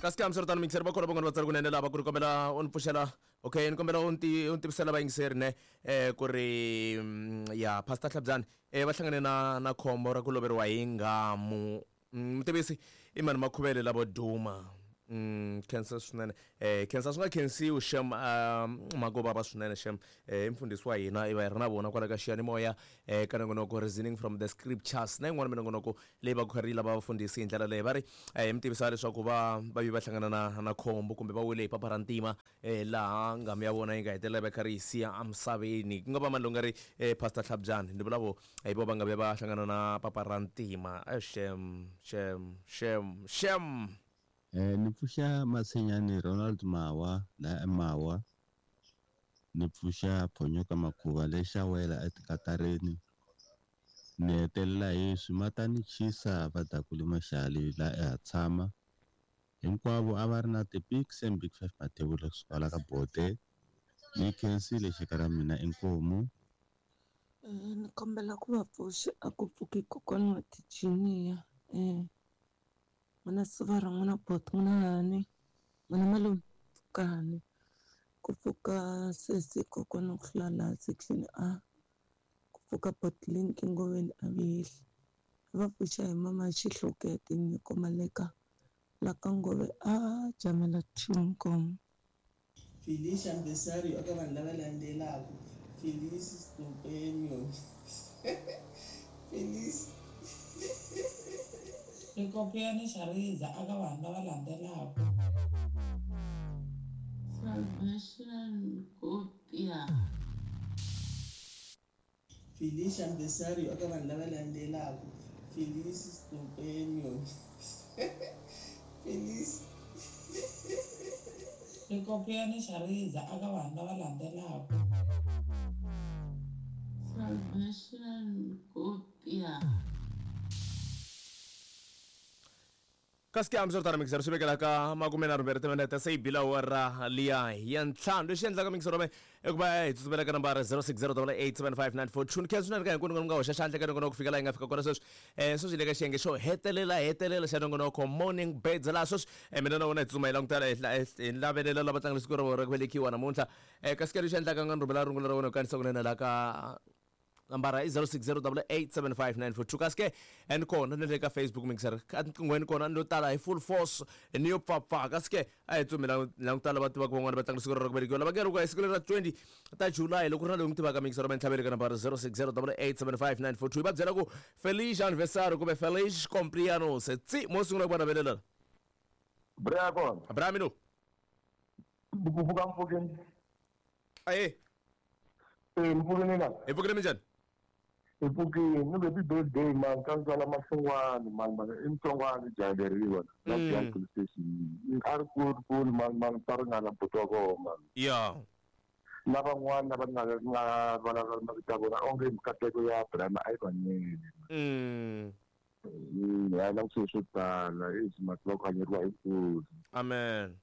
Kasi ke hambiswiritano miyingiseri va kona van'wana va tsari kunene lava ku ri kombela u ni pfuxela okay ni kombela u ni u ni tivisela vayingiseri ne ku ri ya Pastor Hlabyani va hlangane na na khombo ra ku loveriwa hi nghamu. Mutivisi i mani Makhuvele lavo duma. Khensa swinene khensa swi nga khensiwi shem mhaka yo vava swinene shem i mfundhisi wa hina i va hi ri na vona kwala ka xiyanimoya ka nongonoko reasoning from the scriptures na yin'wana minongonoko leyi va ku kha ri lava vafundhisi hi ndlela leyi va ri hi mi tivisa leswaku va va vi va hlangana na na khombo kumbe va wele hi papa ra ntima laha nghamu ya vona yi nga hetelela va kha ri yi siya emisaveni ku nga va mani lowu nga ri Pastor Hlabyani ni vula vo hi vo va nga vuya va hlangana na papa ra ntima shem shem shem shem. Ni pfuxa Matshinyani Ronald Mawa la eMawa ni pfuxa Phonyoka Makhuva le Xawela eTikatareni ni hetelela hi Swimatani Chisa va Dakuli Maxali la eHatshama hinkwavo a va ri na ti-Big Sam Big Five Mathebula kusuka la ka Bote ni khensile xaka ra mina inkomu. Ni kombela ku va pfuxa a ku pfuki kokwana wa tijiniya n'wina sivara n'wina boti n'wina hani n'wina malume pfukani ku pfuka sesi kokwana ku hlula laha section A ku pfuka boti Linki Ngoveni a vihli va pfuxa hi mama Xihlokete Nyiko Maleka la ka Ngove a jamela two Nkomo. Felice anniversario eka vanhu lava landzelaka, Felice cumpleaños Felice. Xikopiyani xa riza aka vanhu lava landzelaka. Salvation Kopia. Felice anniversario eka vanhu lava landzelaka, Felice cumpleaños Felice. Xikopiyani xa riza aka vanhu lava landzelaka. Salvation Kopia. Kasi ke hambiswiritano mixero swi vekela ka makumenharhumbirhi timinete se yi bile awara liya ya ntlhanu lexi endlaka mixero me i ku va hi tsutsumela ka nambara 06087594 ni khensa swinene ka hinkwenu mi nga hoxa xandla ka nongonoko ku fika laha hi nga fika kona sweswi um sweswi hi le ka xiyenge xo hetelela hetelela xa nongonoko morning birds laha sweswi mina na wena hi tsutsuma hi langutela hi lavelela lava tlangela siku ra vona ra ku velekiwa namuntlha um kasi ke lexi endlaka nga ni rhumela rungula ra wena hi kanisa kunene laha ka nambara i 0608875942 kasi ke and kona ni le ka Facebook mixer etinqinghweni kona ni lo tala hi full force ni yo pfapfa kasi ke a hi tsumi langutala va tivaka van'wana va tlanga siku ra ku velekiwa lava nge ri ku hi siku leri ra 20 ta July loko ri na loyi n'wi tivaka mixer va ntlhaveli ka nambara 0608875942 hi va byela ku feliz anniversario kumbe feliz cumpleaños tsi mo sungula ku va navelela Bra kona. Bra mino. Ku pfuka mpfukeni. Aye. Eh, ni pfukile na. Hi pfukile minjhani? Hi pfukile. Ni happy birthday man ka ntswala Mahlongwane man man i Mutsonga ni jahileriwa la Giyani police station. A ri kulu kulu man man ta ringana buti wa koho man. Ya. Na van'wana lava nga nga vulavula mavito ya vona onge mikateko ya Abraham a yi va nyele. Ha la swilo swo tala i mati va ku hanyeriwa hi nkosi. Amen.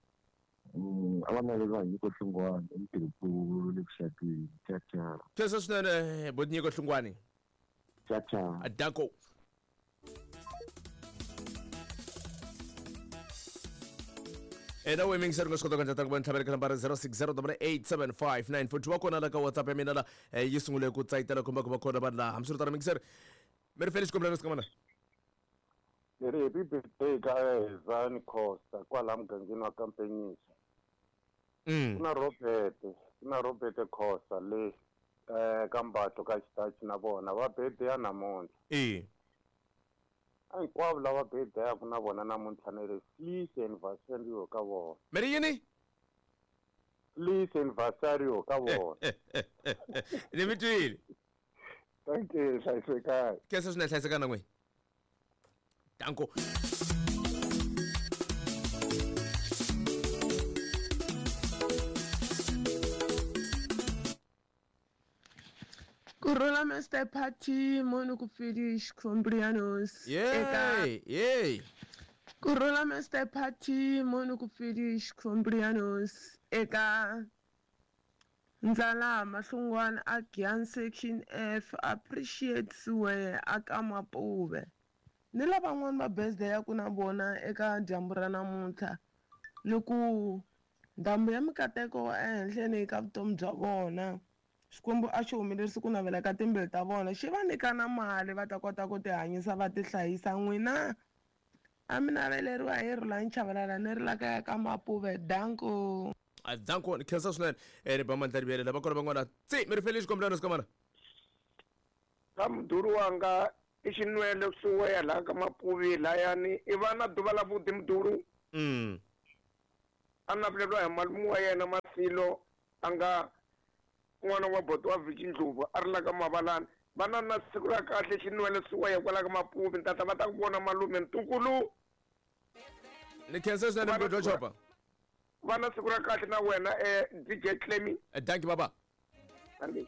A va naveriwa hi Nyiko Hlungwani i mutirhinkulu le vuxakeni. Cha cha. Khensa swinene boti Nyiko Hlungwani. Cha cha. Danko. Ena we mingiseri nga swi kota ku endla ku va ntlhavelo ka nambara 0608875942 wa kona la ka WhatsApp ya mina la yi sungule ku tsayitela kumbe ku va kona vanhu laha hambiswiritano mingiseri mi ri feli xikombelo ka mana. Ni ri happy birthday ka Hezani Costa kwala mugangeni wa Kampenyisa. Ku na Robert, ku na Robert Khosa le ka Mbatlo ka Xitachi na vona va birthday namuntlha. A hinkwavo lava birthday-aku na vona namuntlha ni ri feliz anniversario ka vona. Mi ri yini? Feliz anniversario ka vona. Ni mi twile. Thank you, hlayisekani. Khensa swinene hlayisekani na n'wina. Danko. Kurhula Mister Party moni ku Felish Combrianos eka Yey, yey. Kurhula Mister Party moni ku Felish Combrianos eka Ndlala Mahlungwana a Giyani Section F Appreciate Siweya a ka Mapuve ni lavan'wana va birthday ya ku na vona eka dyambu ra namuntlha. Ni ku ndhambi ya mikateko ehenhleni ka vutomi bya vona. Xikwembu a xi humelerisi ku navela ka timbilu ta vona, xi va nyika na mali va ta kota ku tihanyisa va tihlayisa. N'wina a mi naveleriwa hi Rhulani Chavalala ni ri la kaya ka Mapuve. Danko. A danko ni khensa swinene ni ba mandla rivele lava kona van'wana tsi mi ri fele xikombelano sikamana. Ka mudhuri wanga i xinwele kusuweya laha ka Mapuvi layani i va na duva la vudi mudhuru. A naveleriwa hi malume wa yena Masilo a nga n'wana wa boti wa Vici Ndlovu a ri la ka Mavalani. Va na na siku ra kahle xinwele suweya kwala ka Mapuvi ni tata va ta ku vona malume ntukulu. Ni khensa swinene mugodi wa chopa. Va na siku ra kahle na wena DJ Clemy. Thank you baba. Thank you.